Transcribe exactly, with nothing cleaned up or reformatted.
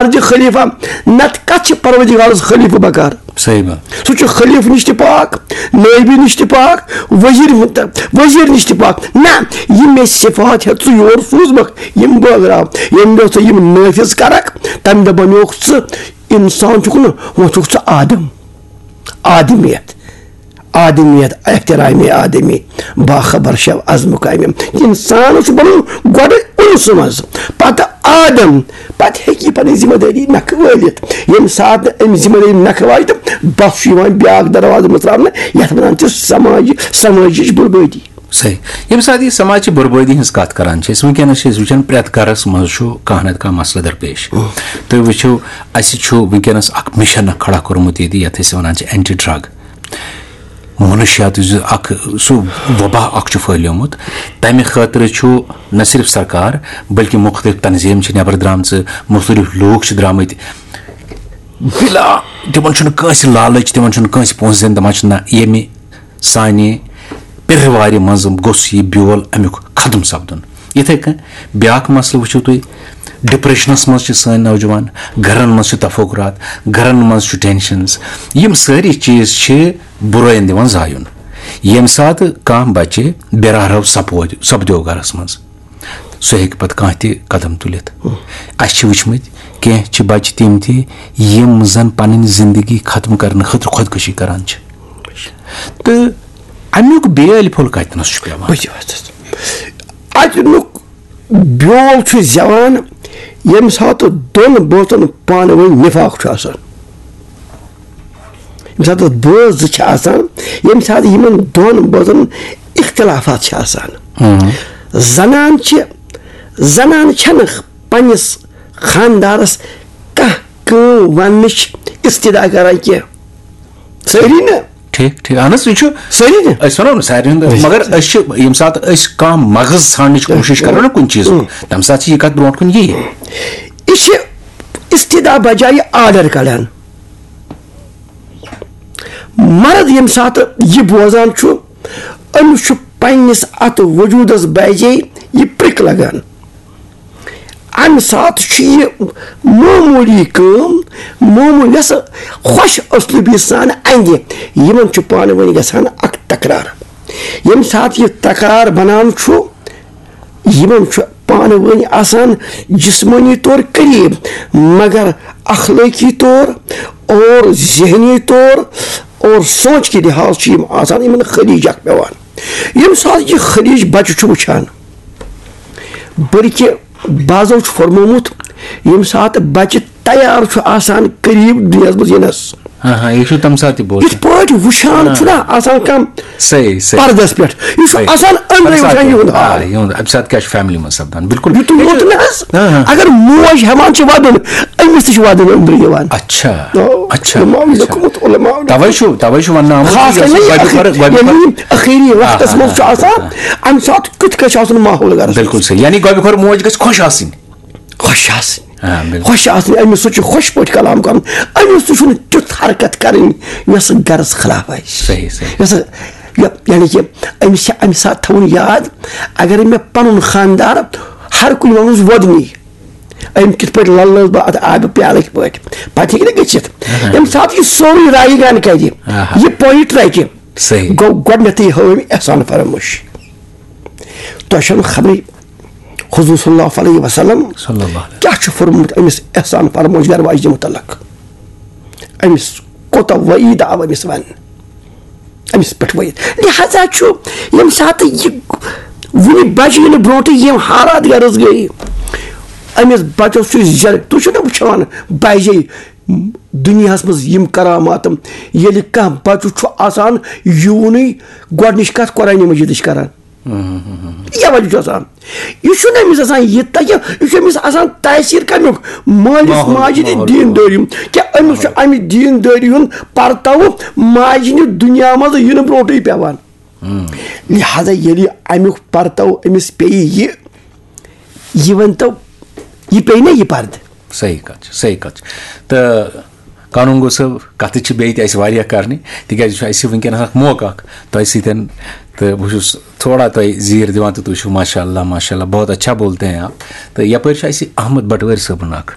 خارجہ خلیفہ، نتہٕ کتھ چھِ پروردگارس خلیفہ بکار؟ صحیح بات۔ سُہ چھُ خلیفہ نِش تہِ پاک، نٲبی نِش تہِ پاک، وزیر، وزیر نِش تہِ پاک۔ نہ، یہِ مےٚ صفات ہیٚتھ ژٕ یور سوٗزمکھ، یِم بٲگراو، ییٚمہِ دۄہ ژٕ یِم نٲفذ کرکھ، تمہِ دۄہ بنیوکھ ژٕ انسان چھُکھ نہٕ، وۄنۍ چھُکھ ژٕ آدم۔ آدمیت، آدمیت، احترام آدمی، باخبر شو از مقامم۔ انسان چھُ بنُن گۄڈٕ انسہٕ منٛز، پتہٕ آدم، پتہٕ ہیٚکہِ یہِ پنٕنۍ ذمہ دٲری نکھٕ وٲلِتھ۔ ییٚمہِ ساتہٕ نہٕ أمۍ ذمہ دٲری نکھٕ والہِ، تہٕ بس چھُ یِوان بیٛاکھ دروازٕ مژراونہٕ، یتھ ونان چھِ سماجی، سماجٕچ بربٲدی۔ صحیح۔ ییٚمہِ ساتہٕ یہِ سماجچہِ بربٲدی ہٕنٛز کتھ کران چھِ أسۍ، وٕنکیٚنس چھِ أسۍ وٕچھان پرٛٮ۪تھ گرس منٛز چھُ کانٛہہ نتہٕ کانٛہہ مسلہٕ درپیش۔ تُہۍ وٕچھِو، اسہِ چھُ وٕنکیٚنس اکھ مشن کھڑا کوٚرمُت ییٚتہِ، یتھ أسۍ ونان چھِ اینٹی ڈرگ۔ منشیات یُس اکھ سُہ وبا اکھ چھُ پھٔہلیومُت، تمہِ خٲطرٕ چھُ نہ صرف سرکار بلکہِ مختلف تنظیٖم چھِ نٮ۪بر درامژٕ، مختلف لوٗکھ چھِ درامٕتۍ۔ بلا، تِمن چھُنہٕ کٲنٛسہِ لالٕچ، تِمن چھُنہٕ کٲنٛسہِ پونٛسہٕ دِنۍ، دپان چھِ نہ، ییٚمہِ سانہِ پِرٕ وارِ منٛز گوٚژھ یہِ بیول امیُک ختم سپدُن۔ یِتھے کٔنۍ بیاکھ مسلہٕ وٕچھِو تُہۍ، ڈپریشنس منٛز چھِ سٲنۍ نوجوان، گرن منٛز چھِ تفکرات، گرن منٛز چھُ ٹینشنز۔ یِم سٲری چیٖز چھِ بُرٲیِن دِوان زایُن۔ ییٚمہِ ساتہٕ کانٛہہ بچہِ بے راہ رو سپود-، سپدیو گرس منٛز، سُہ ہیٚکہِ پتہٕ کانٛہہ تہِ قدم تُلِتھ۔ اسہِ چھِ وٕچھمٕتۍ کینٛہہ چھِ بچہِ تِم تہِ، یِم زن پنٕنۍ زندگی ختم کرنہٕ خٲطرٕ خودکشی کران چھِ۔ تہٕ امیُک بیٲلۍ پھوٚل کتنس چھُ پٮ۪وان؟ بہٕ تہِ وَنہٕ۔ اَتیُک بیول چھُ زٮ۪وان، ییٚمہِ ساتہٕ دۄن بٲژن پانہٕ ؤنۍ نفاق چھُ آسان۔ ییٚمہِ ساتہٕ بٲژ زٕ چھِ آسان، ییٚمہِ ساتہٕ یِمن دۄن بٲژن اختلافات چھِ آسان۔ زنان چھِ، زنان چھَنہٕ پننِس خاندارس کانٛہہ کٲم وننٕچ استدعا کران کینٛہہ۔ سٲری نہٕ۔ ٹھیک، ٹھیک۔ اہن حظ، یہِ چھُ سٲری نہٕ۔ أسۍ وَنو نہٕ سارنٕے ہُنٛد، مگر أسۍ چھِ، ییٚمہِ ساتہٕ أسۍ کانٛہہ مغز ژھانڈنٕچ کوٗشِش کرو نا کُنہِ چیٖزُک، تَمہِ ساتہٕ چھِ یہِ کَتھ برونٛٹھ کُن یی۔ یہِ چھِ استدعا بجایہِ آرڈر کڑان۔ مرد ییٚمہِ ساتہٕ یہِ بوزان چھُ، أمِس چھُ پننِس اَتھ وجوٗدس بجے یہِ پرٛک لگان۔ امہِ ساتہٕ چھُ یہِ معموٗلی کٲم، معموٗلی یۄس خۄش اسلوٗبی سان اندِ، یِمن چھُ پانہٕ ؤنۍ گژھان اکھ تکرار۔ ییٚمہِ ساتہٕ یہِ تکرار بنان چھُ، یِمن چھُ پانہٕ ؤنۍ آسان جسمٲنی طور قریب، مگر اخلٲقی طور اور ذہنی طور اور سونچ کہِ لحاظ چھِ یِم آسان یِمن خلیج اکھ پٮ۪وان۔ ییٚمہِ ساتہٕ یہِ خلیج بچہٕ چھُ وٕچھان، بلکہِ بعضو چھُ فرمومُت، ییٚمہِ ساتہٕ بچہٕ تیار چھُ آسان قریب دُنیاہس منٛز یِنس، ہاں، ہاں، یہِ چھُ تَمہِ ساتہٕ تہِ بوزان۔ یِتھ پٲٹھۍ وٕچھان چھُنہ آسان کانٛہہ صحیح، صحیح۔ پردس پٮ۪ٹھ، یہِ چھُ صحیح۔ آسان أنٛدرَے اَمہِ ساتہٕ وٕچھان یِہُنٛد آ، حال۔ یِہُنٛد، اَمہِ ساتہٕ کیٛاہ چھُ فیملی منٛز سپدان؟ بِلکُل۔ یُتُے یوت نہٕ حظ، ہاں، ہاں۔ اگر موج ہٮ۪وان چھِ ودُن، أمِس تہِ چھِ ودُن أنٛدرٕ یِوان۔ اچھا، آ، اچھا، علماء اچھا۔ لیوٚکھمُت، علماء۔ توے چھُ، توے چھُ وننہٕ آمُت خاص کر یۄس نہ یہِ گۄڈٕ ٲخری، خۄر-، گۄڈٕ ییٚلہِ خۄر-، یِم ٲخری آ، وقتس آ، منٛز چھُ آ، آسان، آ۔ اَمہِ ساتہٕ کیُتھ گژھِ آسُن ماحول گرس منٛز؟ بِلکُل صحیح۔ یعنی گۄڈٕ خۄر موج گژھِ خۄش آسٕنۍ۔ خۄش آسٕنۍ۔ آ، بِلکُل۔ خۄش آسٕنۍ، أمِس سۭتۍ چھُ خۄش پٲٹھۍ کلام کرُن، أمِس تہِ چھُنہٕ تیُتھ حرکت کرٕنۍ یۄس گرس خلاف آسہِ۔ صحیح، صحیح۔ یۄس، یہِ، یعنی کہِ أمِس چھِ اَمہِ ساتہٕ تھاوُن یاد، اگر مےٚ پنُن خاندار ہر کُنہِ منٛز وۄدنی، أمۍ کِتھ پٲٹھۍ للٲوٕس بہٕ اتھ آبہٕ پیالٕکۍ پٲٹھۍ، پتہٕ ہیٚکہِ نہٕ گٔژھِتھ۔ اہا۔ ییٚمہِ ساتہٕ یہِ سورُے رایگان کرِ، اہا۔ یہِ پویٹ رٹہِ، صحیح۔ گوٚو گۄڈٕنیتھٕے ہٲو أمۍ احسان فراموش۔ تۄہہِ چھَنہٕ خبرٕے حضور صلی اللہ علیہ وسلم صلی اللہ علیہ۔ کیٛاہ چھُ فرمومُت أمِس احسان فراموش گرٕ واجنہِ متعلق؟ أمِس کوٗتاہ وعیٖد آو أمِس وننہٕ؟ أمِس پٮ۪ٹھ وعیٖد۔ لہذا چھُ ییٚمہِ ساتہٕ یہِ وُنہِ بچہِ یِنہٕ برونٛٹھٕے یِم حالات گرس گٔے، أمِس بچس چھُ زیٚر، تُہۍ چھِو نہ وٕچھان بجے دُنیاہس منٛز یِم کرامات، ییٚلہِ کانٛہہ بچہٕ چھُ آسان یِوُنُے گۄڈٕنِچ کتھ قرآنِ مجیدٕچ کران۔ یہِ وجہ چھُ آسان۔ یہِ چھُنہٕ أمِس آسان یہِ تَگہِ، یہِ چھُ أمِس آسان تٲثیٖر کَمیُک؟ مٲلِس ماحول، ماجہِ ہِنٛدِ ماحول۔ دیٖندٲری ہُنٛد۔ کیٛاہ أمِس چھُ اَمہِ دیٖندٲری ہُنٛد پرتاوٕ ماجہِ ہِنٛدِ دُنیا منٛز یِنہٕ برونٛٹھٕے پٮ۪وان؟ لہذا ییٚلہِ یہِ اَمیُک پرتاوٕ أمِس پیٚیہِ یہِ، یہِ ؤنۍتو، یہِ پیٚیہِ نا یہِ پردٕ؟ صحیح کتھ چھِ، صحیح کتھ چھِ۔ تہٕ قانون گو صٲب، کتھٕ چھِ بیٚیہِ تہِ اَسہِ واریاہ کرنہِ، تِکیٛازِ یہِ چھُ اَسہِ وٕنکیٚنَس اکھ موقعہٕ اکھ تۄہہِ سۭتۍ، تہٕ بہٕ چھُس تھوڑا تۄہہِ زیٖر دِوان تہٕ تُہۍ چھِو ماشاء اللہ، ماشاء اللہ، بہت اچھا بولتے ہیں آپ۔ تہٕ یپٲرۍ چھُ اَسہِ احمد بٹوٲرۍ صٲبُن اکھ